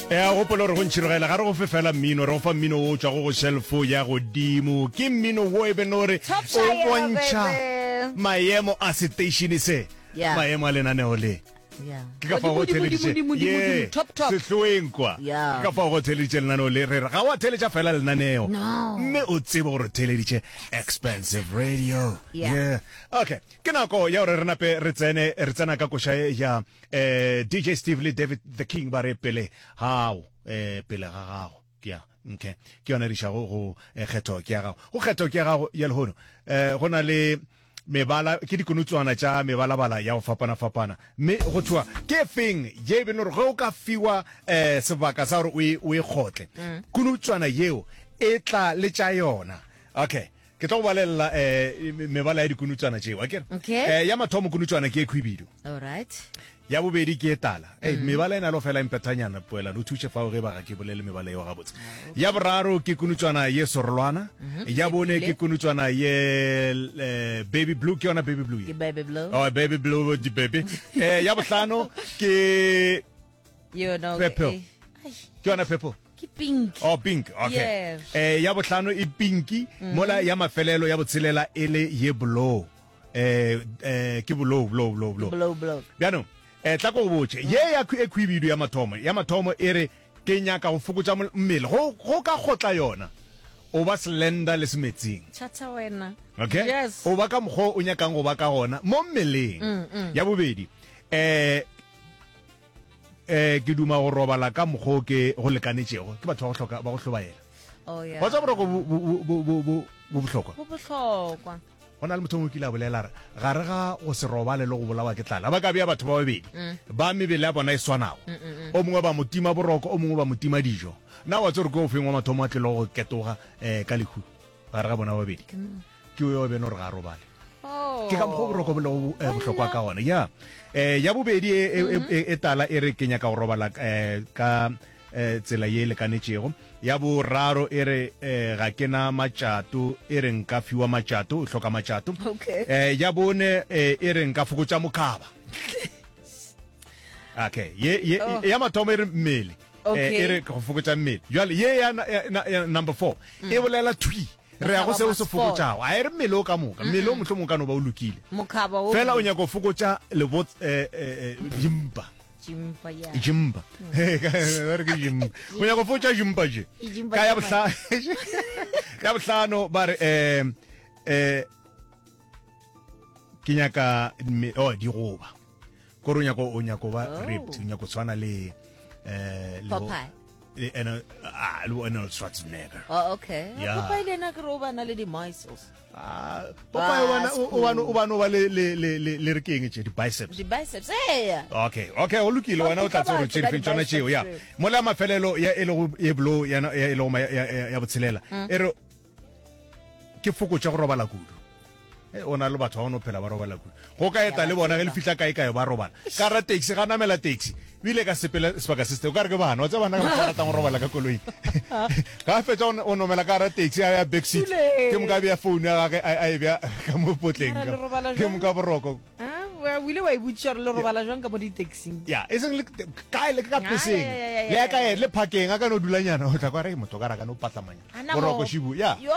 E a gopola gore go ntšhirogela ga re go fe fela mmino, re go fa mmino wo o tšwago go shelfo ya godimo. Ke mmino wo e beno gore Top o Shire, bontšha baby. maemo a seteišene se, Yeah. maemo a lenaneo le. Yeah. Ke ka fao go Godimo, theeleditše godimo, godimo, ye godimo, top, top. sehloeng kwa. Yeah. Ke ka fao go theeleditše lenaneo le re re ga wa theeletša fela lenaneo. No. Mme o tsebe gore o theeleditše expensive radio. Yeah. Yeah. Okay. Ke nako ya gore re nape re tsene re tsena ka koša ye ya eh DJ Steve le David the King ba re pele gago eh pele ga gago. Ke ya okay. Ke yona e re išago go eh, kgetho ke ya gago. Go kgetho ke ya gago ya lehono eh go na le mebala ke dikonotswana tša mebalabala ya go fapana-fapana mme go thoa ke feng ye e beno gore ge o ka fiwa um sebaka sa gore o e, o e kgotle mm. konotswana yeo e tla le tša yona okay ke tlo go balelela um mebala ya dikonotswana tšeo akere okay. um ya mathomo konotswana ke e khwibidu Alright. Ya bobedi ke e tala. Ei, mebala e na le go fela e mpethanyana, Poelano. O thuše fao ge e ba ga ke bolele mebala yeo gabotse. Ya boraro ke kunutswana ye sorolwana. Ya bone ke kunutswana ye eh, baby blue, ke yona baby blue ye? Ke baby blue. Oh, baby blue, di baby. Eh, ya bohlano ke Yona, okay. purple. Eh, ai, Ke yona purple. Ke pink. Oh, pink. Okay. Yes. Eh, ya bohlano e pinki, mola ya mafelelo ya botshelela e le ye blue. Eh, eh, ke bolou, bolou, bolou, bolou. Bolou, bolou. Bjanong, eh, tla ko go botše. Ye ya e khwibidu ya mathomo, ya mathomo e re ke nyaka go fokotša mmele. Go, go ka kgotla yona, o ba slender le semetsing. Tšhatha wena. Okay? Yes. O ba ka mokgwa o nyakang go ba ka gona mo mmeleng. Mm, mm. Ya bobedi, eh, eh, ke duma go robala ka mokgwa o ke go lekanetšego. Ke batho ba go hloka, ba go hlobaela. Oh, yeah. Wa tseba boroko bo, bo, bo, bo, bo, bo bohlokwa. Bo bohlokwa. Go na le motho mongwe o kile a bolela a re, Gare ga go se robale le go bolawa ke tlala, ba ka bea batho ba babedi ba mebele ya bona e swanago, o mongwe ba mo tima boroko, o mongwe ba mo tima dijo. Na wa tseba gore ke ofeng wa mathomo a tlilego go ketoga um ka lehu gare ga bona ba babedi? Ke yo beno gore ga a robale. Ke ka mokgwa o boroko bo lego eh, bohlokwa ka gona. Ya um ya bobedi e, e, e, e tala e re ke nyaka go robala um ka eh, tsela ye e lekanetšego. Ya boraro e re eh, ga ke na matšato, e re nka fiwa matšato, o hloka matšato. Okay. Eh, ya bone eh, e re nka fokotša mokaba. Okay, ye, ye, Oh. ya mathomo e re mmele. Okay. Eh, e re go fokotša mmele. Jwale ye ya, ya, ya, ya number 4 e bolela thwi re ya go seo se fokotšago. A e re mmele o ka moka. Mmele o mohlomong o ka no ba o lokile. Mokaba o. Fela o nyaka go fokotša lebot eh, eh, eh, dimpa. Jimpa ya. Jimpa. Ba re ke jimpa. O nyaka go fotša jimpa je. Jimpa Ka ya jimpa. bohlano. Ya bohlano ba re eh eh ke nyaka mme- oh digoba. Kore o nyaka o nyaka go ba Oh. ripped, o nyaka go tshwana le eh le bo- Popeye. le ene ah le bo Arnold Schwarzenegger. Oh, okay. Yeah. Popeye le ena ke re o ba na le di-muscles. Ah, Popeye o bana o bana o bana o ba le le le le le re ke eng tše di biceps. Di biceps. Eya. Okay, okay, o lokile wena o tla tseba gore tše difeng tšona tšeo ya. Mola mafelelo ya e lego ye blow ya ya e lego ya ya botshelela. Mm. E re ke fokotša go robala kudu. E, o na le batho ba no phela ba robala kudu. Go ka eta le bona ge le fihla kae kae ba robala. Ka ra taxi ga namela taxi. Bile ka sepela sebaka se se o ka re ke bana, wa tseba bana ka ba ratang go robala ka koloing. Ga a fetša o nomela ka gara taxi a ya back seat. Ke moka a bea phone ya gage a e bea ka mo potleng. Ke moka boroko. O ile wa e botšiša gore le robala jwang ka mo di-taxing? Ya, e seng le kae le ka peseng. Le ya kae le phakeng a ka no dulanyana o tla kwa re motho ka ra ka no patlamanya. Boroko šibu. Ya. Yo.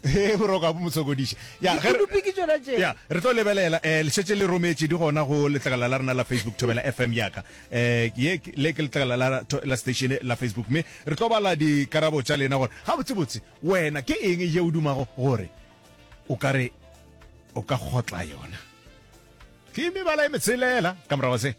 He boroko a bo mo sokodiša. Ya, ge re, Dikunupi ke tšona tše. ya, re tlo lebelela eh le šetše le rometše di gona go letlakala la rena la Facebook Thobela FM ya ka. Eh ye ke- le ke letlakala la la station la Facebook mme re tlo bala dikarabo tša lena gore gabotsebotse wena ke eng ye o dumago gore o ka re o ka kgotla yona. Ke mebala e metshelela ka morago se.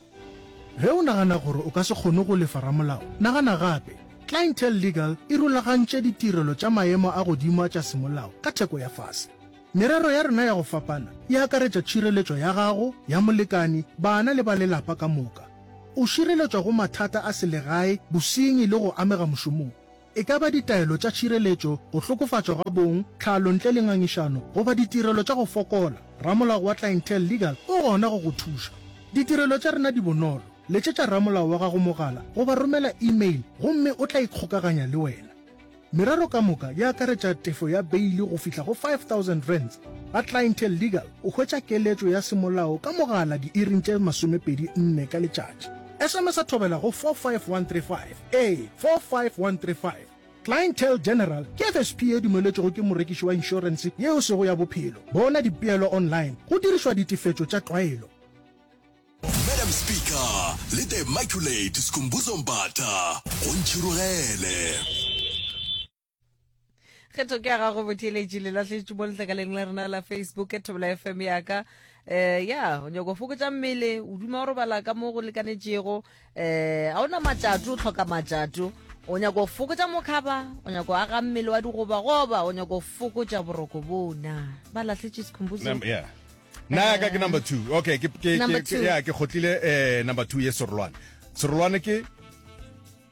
Ge o nagana gore o ka se kgone go lefa ramolao, nagana gape. Clientele Legal e rulagantše ditirelo tša maemo a godimo a tša semolao ka theko ya fase. Merero ya rena ya go fapana e akaretša tšhireletšo ya gago, ya molekani, bana le ba lelapa ka moka. O šireletšwa go mathata a selegae, bosenyi le go amega mošomong. E ka ba ditaelo tša tšhireletšo, go hlokofatšwa ga bong, tlhalo ntle le ngangišano, goba ditirelo tša go fokola, ramolao wa Clientele Legal o gona go go thuša. Ditirelo tša rena di bonolo, letšetša ramolao wa gago mogala goba romela e-mail gomme o tla ikgokaganya le wena. Merero ka moka e akaretša tefo ya beili go fihla go R5000. Ga Clientele Legal o hwetša keletšo ya semolao ka mogala diiring tše 24 ka letšatši. SMS-a Thobela go 45135. Ee, 45135. Clientele General ke FSP ye dumeletšwego ke morekiši wa inšorense yeo e sego ya bophelo. Bona dipeelo online go dirišwa ditefetšo tša tlwaelo. Madam Speaker le The Immaculate Skhumbuzo Mbatha go Ntšhirogele. Kgetho ke ya gago botheeletši le lahletše mo letlakaleng la rena la Facebook Thobela FM ya ka. Eh ya, o nyako fokotša mmele, o duma go robala ka mo go lekanetšego, eh a ona matšato, o hloka matšato. O nyako fokotša mokhaba, o nyako aga mmele wa digobagoba, o nyako fokotša boroko bona. Ba lahletše Skhumbuzo. Number, yeah. Nna ya ka ke number 2. Okay, ke ke ke ya ke khotlile eh number 2 ye serolwane. Serolwane ke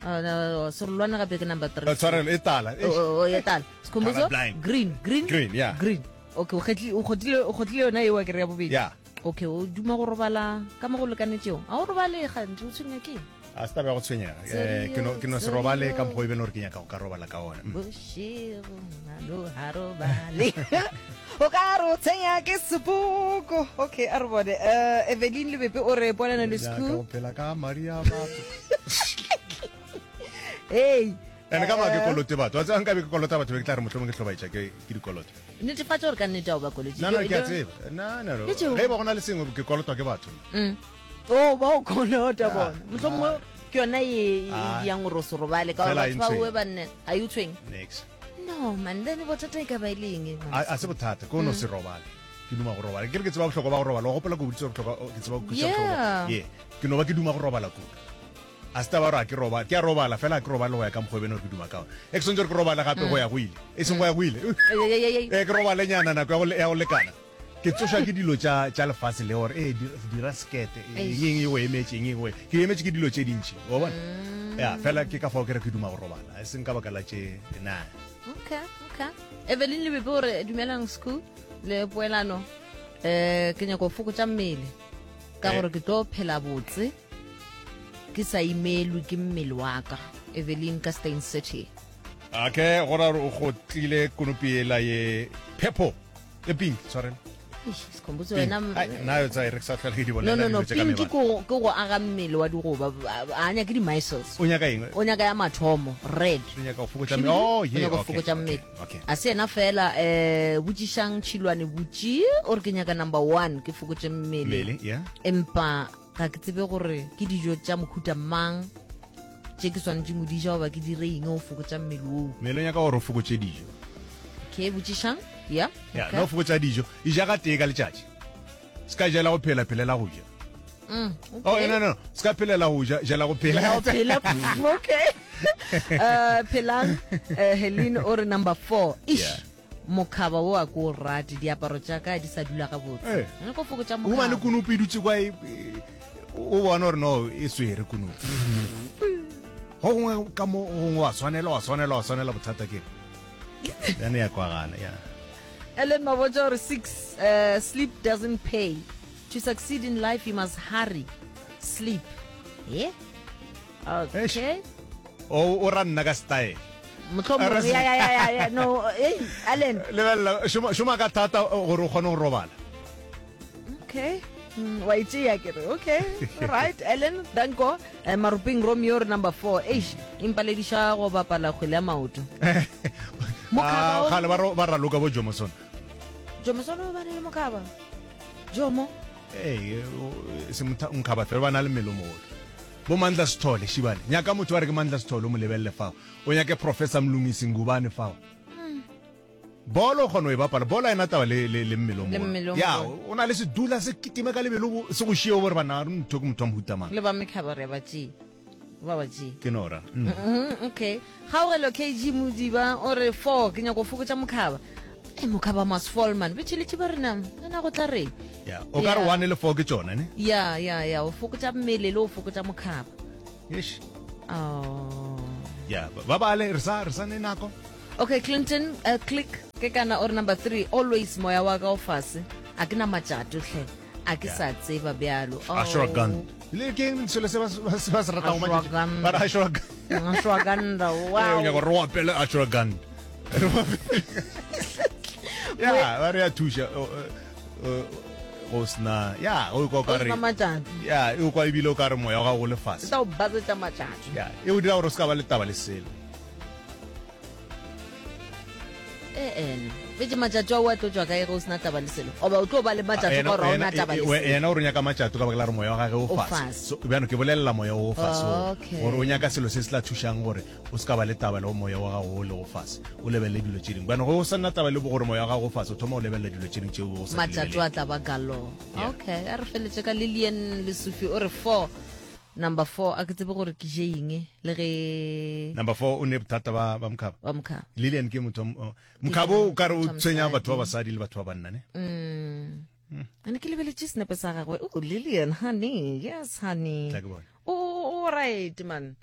Oh, no, serolwane gape ke number 3. Eh, tshwarelo e tala. Oh, oh, oh, e tala. Skhumbuzo green, green. Green, yeah. Green. Okay, o kgetlile o kgotlile o kgotlile yona eo ke re ya bobedi. Yeah. Okay, o duma go robala ka mo go lekanetšego. A o robale gantsi o tshwenya ke? A se taba ya go tshwenyega. Eh, ke no ke no se robale ka mokgwa e bene gore ke nyaka go ka robala ka ona. Mm. Bošego ngano ha robale. O ka re o tshwenya ke sepoko. Okay, a re bone. Eh, Evelyn Lebepe o re polana le Nyaka school. go phela ka madi a batho. Hey. Ene ka ba ke kolote batho. Wa tseba nka be ke kolota batho be ke tla re mohlomong ke hlobaetša ke ke dikoloto. Netefatša gore ka nnete a o ba kolotše. No no ke a tseba. No no no. Ge e ba go na le sengwe ke kolotwa ke batho. Mm. O ba o kolota bona. Mohlomongwe ke yona e e yang gore o se robale ka gore batho ba owe ba nne a e o tshwenye. Next. No man, then bothata e ka ba e le eng? A se bothata, ke o no se robale. Ke duma go robala. Ke re ke tseba bohlokwa ba go robala. Wa gopola ke boditse bohlokwa ke tseba go kwešiša bohlokwa. Yeah. Ke no ba ke duma go robala kudu. A se taba gore a ke robala, ke a robala fela a ke robale go ya ka mokgwa e bene gore ke duma ka ona. E ke swantse gore ke robale gape go ya go ile. E seng go ya go ile. E ke robale nyana nako ya go lekana. Ke tsošwa ke dilo tša tša lefase le gore ee dira sekete eng eng e go emetše eng eng e ke emetše ke dilo tše dintši wa bona. Ya fela ke ka fao ke re ke duma go robala e seng ka baka la tše na. Okay, okay. Evelyn Lebepe o re dumelang school le poelano eh ke nyako fokotša mmele ka gore ke tlo phela botse. Ke sa imelwe ke mmele wa ka. Evelyn ka Steyn City. Okay, go ra gore o kgotlile konopi ela ye purple, e pink, tshwarelo. Eish, Sikhumbuzo wena Ai, nna yo tsa e re ke sa tlhole ke di No bolela no no, dilo tse ka pink mebala. ke go ke go aga mmele wa digoba, a nyake di muscles. O nyaka eng? O nyaka ya mathomo, red. O nyaka go fokotša mmele. Oh, O yeah, nyaka go okay. fokotša Okay, mmele. okay. A se yena fela eh botšišang Tšhilwane botši o re ke nyaka number 1 ke fokotše mmele. Mmele, yeah. Empa Ga ke tsebe gore ke dijo tša mohuta mang tše ke swanetšeng go di ja goba ke dire eng go fokotša mmele woo. Mmele o nyaka gore o fokotše dijo. Okay, botšišang. Ya. Ya, no fokotša dijo. E ja gatee ka letšatši. Se ka jela go phela, phelela go ja. Mm, okay. Oh, no, no, se ka phelela go ja, jela go phela. Jela go phela. Okay. Uh, phelang, uh, Helene o re number 4. Ish. Yeah. Mokhaba wo a ko o rate, diaparo tša ka di sa dula gabotse. Eh. Nna ko fokotša O humane mokhaba. konopi e dutse kwa e, e- o bona gore no e swere konopi. Go gongwe ka mo go gongwe wa swanela wa swanela wa swanela bothata ke yane ya kwagala ya. Ellen Mabotja gore 6 uh, sleep doesn't pay. To succeed in life you must hurry. Sleep. Yeah. Okay. O o ra nna ka style. Mohlomongwe ya ya ya ya ya no hey Allen. Lebelela šoma šoma ka thata gore o kgone go robala. Okay. Mm, wa itšea ke re okay right Ellen danko eh, Maruping Romeo re number 4 eish impalediša go bapala kgwele ya maoto Mokhaba ah, gale ba ba raloka bo Jomoson Jomoson o bane le mokhaba Jomo ee se mokhaba fela ba na le mmele o mogolo Bo Mandla Sithole, Šibane. Nyaka motho ba re ke Mandla Sithole, o mo lebelele fao. O nyake Professor Mlungisi Ngubane fao. Bolo o kgona go e bapala. Bolo ha e na taba le, le, le mmele o Le mmele mogolo. o Ya, mogolo. o na le sedula se kitime ka lebelo, bo- se go šie o bo re banna, motho ke motho wa mohuta mang. Le ba mekhaba re a ba tšea. Ba ba tšea. Ke no ra. Mm. Mm, okay. Kgaogelo KG Modiba o re 4 ke nyako fokotša mokhaba. E mokhaba must fall man. Betšheletše ba rena. Nna go tla reng? Ya, o ka re Yeah. 1 le 4 ke tšona, ne? Ya ya ya o fokotša mmele le o fokotša mokhaba. Eish. Oh. Ya, ba bale re sa re sa ne nako. Okay, Clinton uh, click ke kana o re number 3 always moya wa ka o fase. A ke na matšato hle. A ke sa tseba bjalo. Oh. Ashwagandha. Le ke eng selo se ba se ba se ratang go Ashwagandha. Ba re ashwagandha. Ashwagandha. Wow. Eh, o nyaka gore o apele ashwagandha. Ya, ba re ya thuša. go o sena ya o kwa o ka O re sena matšatši. ya o kwa ebile o ka re moya wa gago o le E fase tla o basetša matšatši. ya e o dira gore o se ka ba le taba le selo Ee, fetše matšatši ao a tlo tšwa kae ge o sena taba le selo? Goba o tlo ba le matšatši ka gore ga o na taba le selo? Yena o re o nyaka matšato ka baka la gore moya wa gage o fase. So, bjano ke bolelela moya o fase o, Okay. gore o nyaka selo se se tla thušang gore o se ka ba le taba le go moya wa gago o lego fase, o lebelele dilo tše dingwe. Bjano ge o sa na taba le gore moya wa gago o fase, o thoma go lebelela dilo tše dingwe tšeo o sa di Matšatši a lebelele. tla ba galore. Yeah. Okay, a re feletše ka Lillian Lesufi o re 4 Number 4 a ke tsebe gore ke je eng le ge Number 4 o ne bothata ba ba mokhaba. Ba mokhaba. Lilian ke motho mokhabo o ka re o tshwenya batho ba basadi le batho ba banna ne. Mm. Ane ke lebeletše senepe sa gagwe. Oh Lilian honey, yes honey. Tla ke bone. O o right man.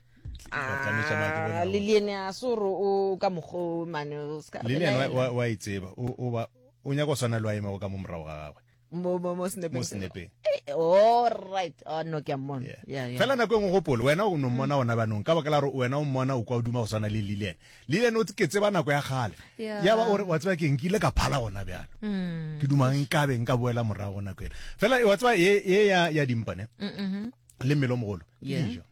Ah, Lilian a se gore o ka mokgo man o ska. Lilian wa wa itseba o o ba o nyaka go swana le wa emego ka mo morago ga gagwe. mo mo mo snapeng mo snapeng eh, all right oh no ke a mmona yeah. yeah, yeah. fela nako e nngwe gopolo wena o no mmona gona banong ka baka la gore wena o mmona o kwa o duma go swana le lilian lilian o ke tseba nako ya gale Yeah. ya ba ore wa tseba ke nkile ka phala gona bjalo mm. ke duma nkabe nka boela morago nako ela fela wa tseba ye ye ya ya dimpane mm -hmm. le mmele o mogolo yeah. dijo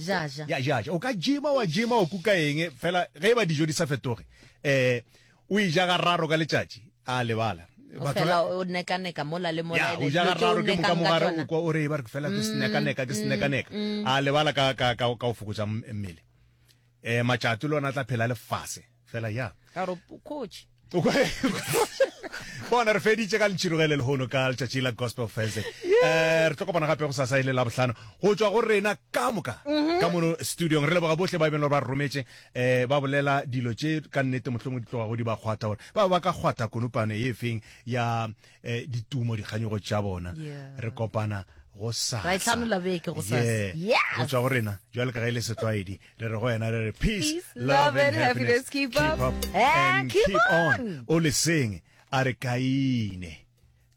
Ja ja. Ya ja ja. O ka jima wa jima o kuka eng fela ge e ba dijo di sa fetoge. Eh o e ja gararo ka letšatši a lebala. O fela o neka-neka mola le mola. Ya o ja gararo ke moka mogare o kwa o re ba re fela ke seneka-neka ke seneka-neka. A lebala ka ka ka ka o fokotsa mmele. Eh matšatši le ona tla phela le fase. Fela ya. Ka re coach. Bona re feditše ka ntšhirogele lehono ka letšatši la Gospel Thursday. Eh re tlo kopana gape go sasa e le Labohlano go tšwa go rena ka moka mhm. ka mono studiong. Re leboga bohle ba e beng ba rometše eh ba bolela dilo tše ka nnete mohlomong di tlogago di ba kgwatha gore ba ba ka kgwatha konopane e feng ya eh, ditumo dikganyogo tša bona. Re kopana go sasa. Ra e hlanola beke go sasa. Yeah. Go tšwa go rena jwale ka ge e le setlwaedi re re go wena re re peace, peace love and happiness keep up, keep up and, and keep, keep on, on. O leseng a re kaine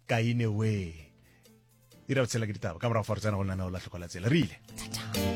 kaine we ira botshela ke ditaba ka morago fa re tsena go lenaneo la tlhokola tsela re ile.